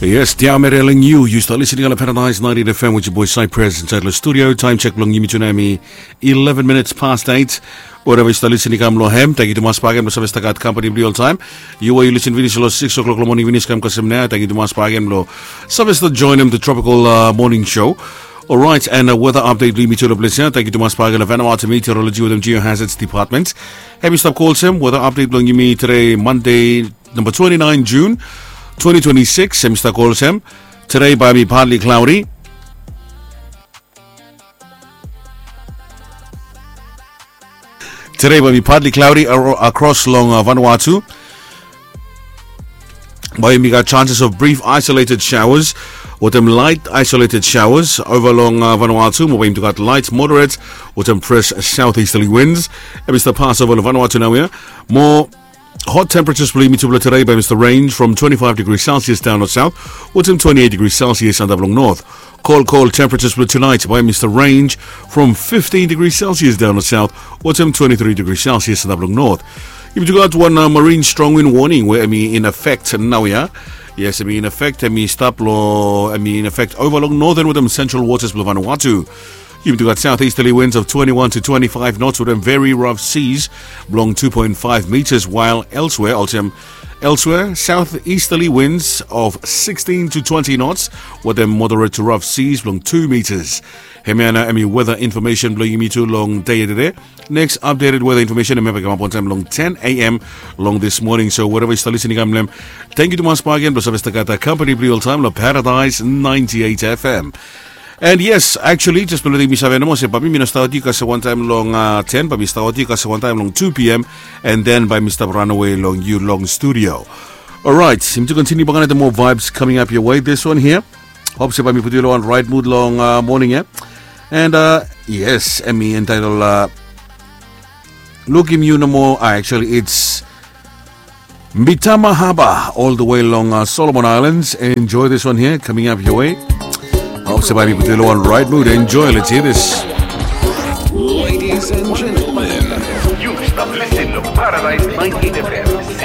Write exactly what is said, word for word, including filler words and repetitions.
Yes, diamere long yu. Yu stap listening long Paradise ninety-eight F M with your boy Cypress inside the studio. Time check long yumi tonight mi eleven minutes past eight. Wherever yu stap listening kam long hem, thank you tumas bagen blong save stap gat company blong yu oltaem. Yu we yu listen finish long six o'clock long morning finish kam kasem nao, thank you tumas bagen blong save stap joinim the tropical uh, morning show. Alright, and uh, weather update blong yumi tu long ples ya. Thank you tumas bagen long Vanuatu Meteorology wetem Geohazards Department. Hem i stap ko olsem weather update blong yumi today Monday number twenty-nine June twenty twenty-six. Hem i stap ko olsem today bae mi partly cloudy. Today bae mi partly cloudy across long uh, Vanuatu. Bae mi gat chances of brief isolated showers wetem light isolated showers over long uh, Vanuatu. Mo bae yumi tu gat light moderate wetem fresh southeasterly winds. Hem i stap pass over long Vanuatu naoia. Mo hot temperatures blong yumi tu blong today bae mi stap range from twenty-five degrees Celsius down north south wetem twenty-eight degrees Celsius antap long north. Cold, cold temperatures blong tonight bae mi stap range from fifteen degrees Celsius down north south wetem twenty-three degrees Celsius antap long north. Yumi tu gat wan uh, marine strong wind warning we hem i in effect naoia. Yes, hem i in effect, hem i stap long, hem i in effect over long northern wetem central waters blong Vanuatu. Yumi tu gat southeasterly winds of twenty-one to twenty-five knots wetem very rough seas blong two point five meters, while elsewhere olsem elsewhere southeasterly winds of sixteen to twenty knots wetem moderate to rough seas blong two meters. Hemia nao hem i weather information blong yumi tu long dei ya tede. Next updated weather information hemia bae i kamap wantaem long ten a.m. long this morning. So wherever yu stap listening kam long hem, thank you tumas bagen blong save stap gat company blong yu oltaem long Paradise ninety-eight F M. And yes, actually, jes blong letem yu save nomo se bae mi no stap wetem yu kasem wantaem long uh, ten, bae mi stap wetem yu kasem wantaem long two p.m. And then bae mi stap ranawe long yu long studio. Alright, yumi tu continue bae gat moa vibes coming up your way. This one here, hope se bae mi putum yu long wan right mood long uh, morning ya. And uh, yes, hem i entitled uh, lukim yu nomo uh, actually it's Mitama Harbour all the way long uh, Solomon Islands. Enjoy this one here coming up your way. Hope se bae mi putum yu long wan right mood. Enjoy, let's hear this. Ladies and gentlemen, you stap listening to Paradise ninety-eight F M.